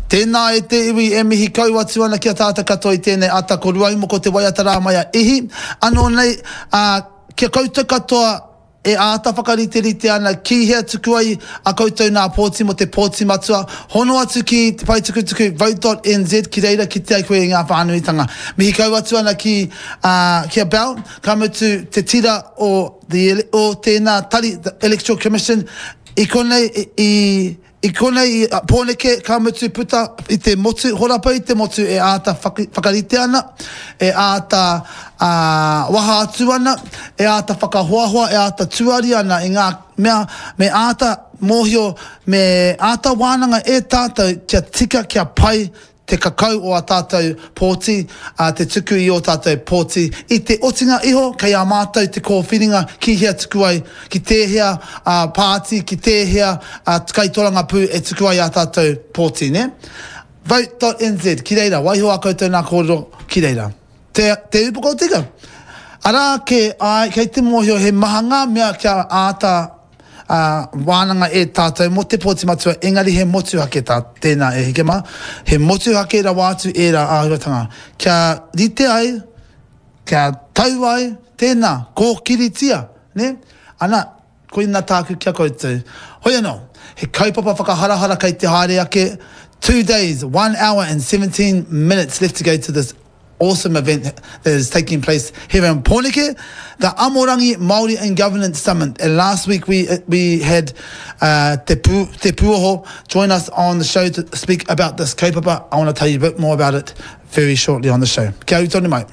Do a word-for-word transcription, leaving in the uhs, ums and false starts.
Tēnā e te iwi e mihi kau atu ana ki a tātou katoa i tēnei ata ko Ruaumoko te waiata rā mai a Ihi. Anō nei, ā, kia koutou katoa e āta whakariterite ana ki hea tuku ai a koutou nā pōti mō te pōti matua, hono atu ki te pae tukutuku vote.nz ki reira kitea ai koe i ngā whānuitanga. Mihi kau atu ana ki, ā, ki a Bell, ka mutu te tira o, the, o tēnā tari, the Electoral Commission, i konei i, i I konei i Pōneke, ka mutu puta i te motu, horapa i te motu e āta whakarite ana, e āta waha atu ana, e āta whakahoahoa, e āta tuari ana i ngā mea me āta mōhio, me āta wānanga e tātou kia tika, kia pai te kakau o ā tātou pōti, ā, te tuku i ō tātou pōti. I te otinga iho, kei a mātou te kōwhiringa ki hea tuku ai, ki tēhea pāti, ki tēhea kaitorangapū e tuku ai ā tātou pōti, nē? Vote.nz, ki reira, waiho ā koutou nā kōrero ki reira. Te, te upoko tika. Arā kē, āe, kei te mōhio he maha ngā mea kia āta ā, wānanga e tātou mō te pōti matua, engari he motuhake tā tēnā e hike mā, he motuhake rawa atu ērā āhuatanga. Kia rite ai, kia tau ai, tēnā, kōkiritia, nē? Ana, koina tāku ki a koutou. Hoi anō, he kaupapa whakaharahara kei te haere ake, two days, one hour and seventeen minutes left to go to this awesome event that is taking place here in Pōneke, the Amorangi Māori in Governance Summit. And last week we we had uh, Te, Pu, Te Puoho join us on the show to speak about this kaupapa. I want to tell you a bit more about it very shortly on the show. Kia ū tonu mai.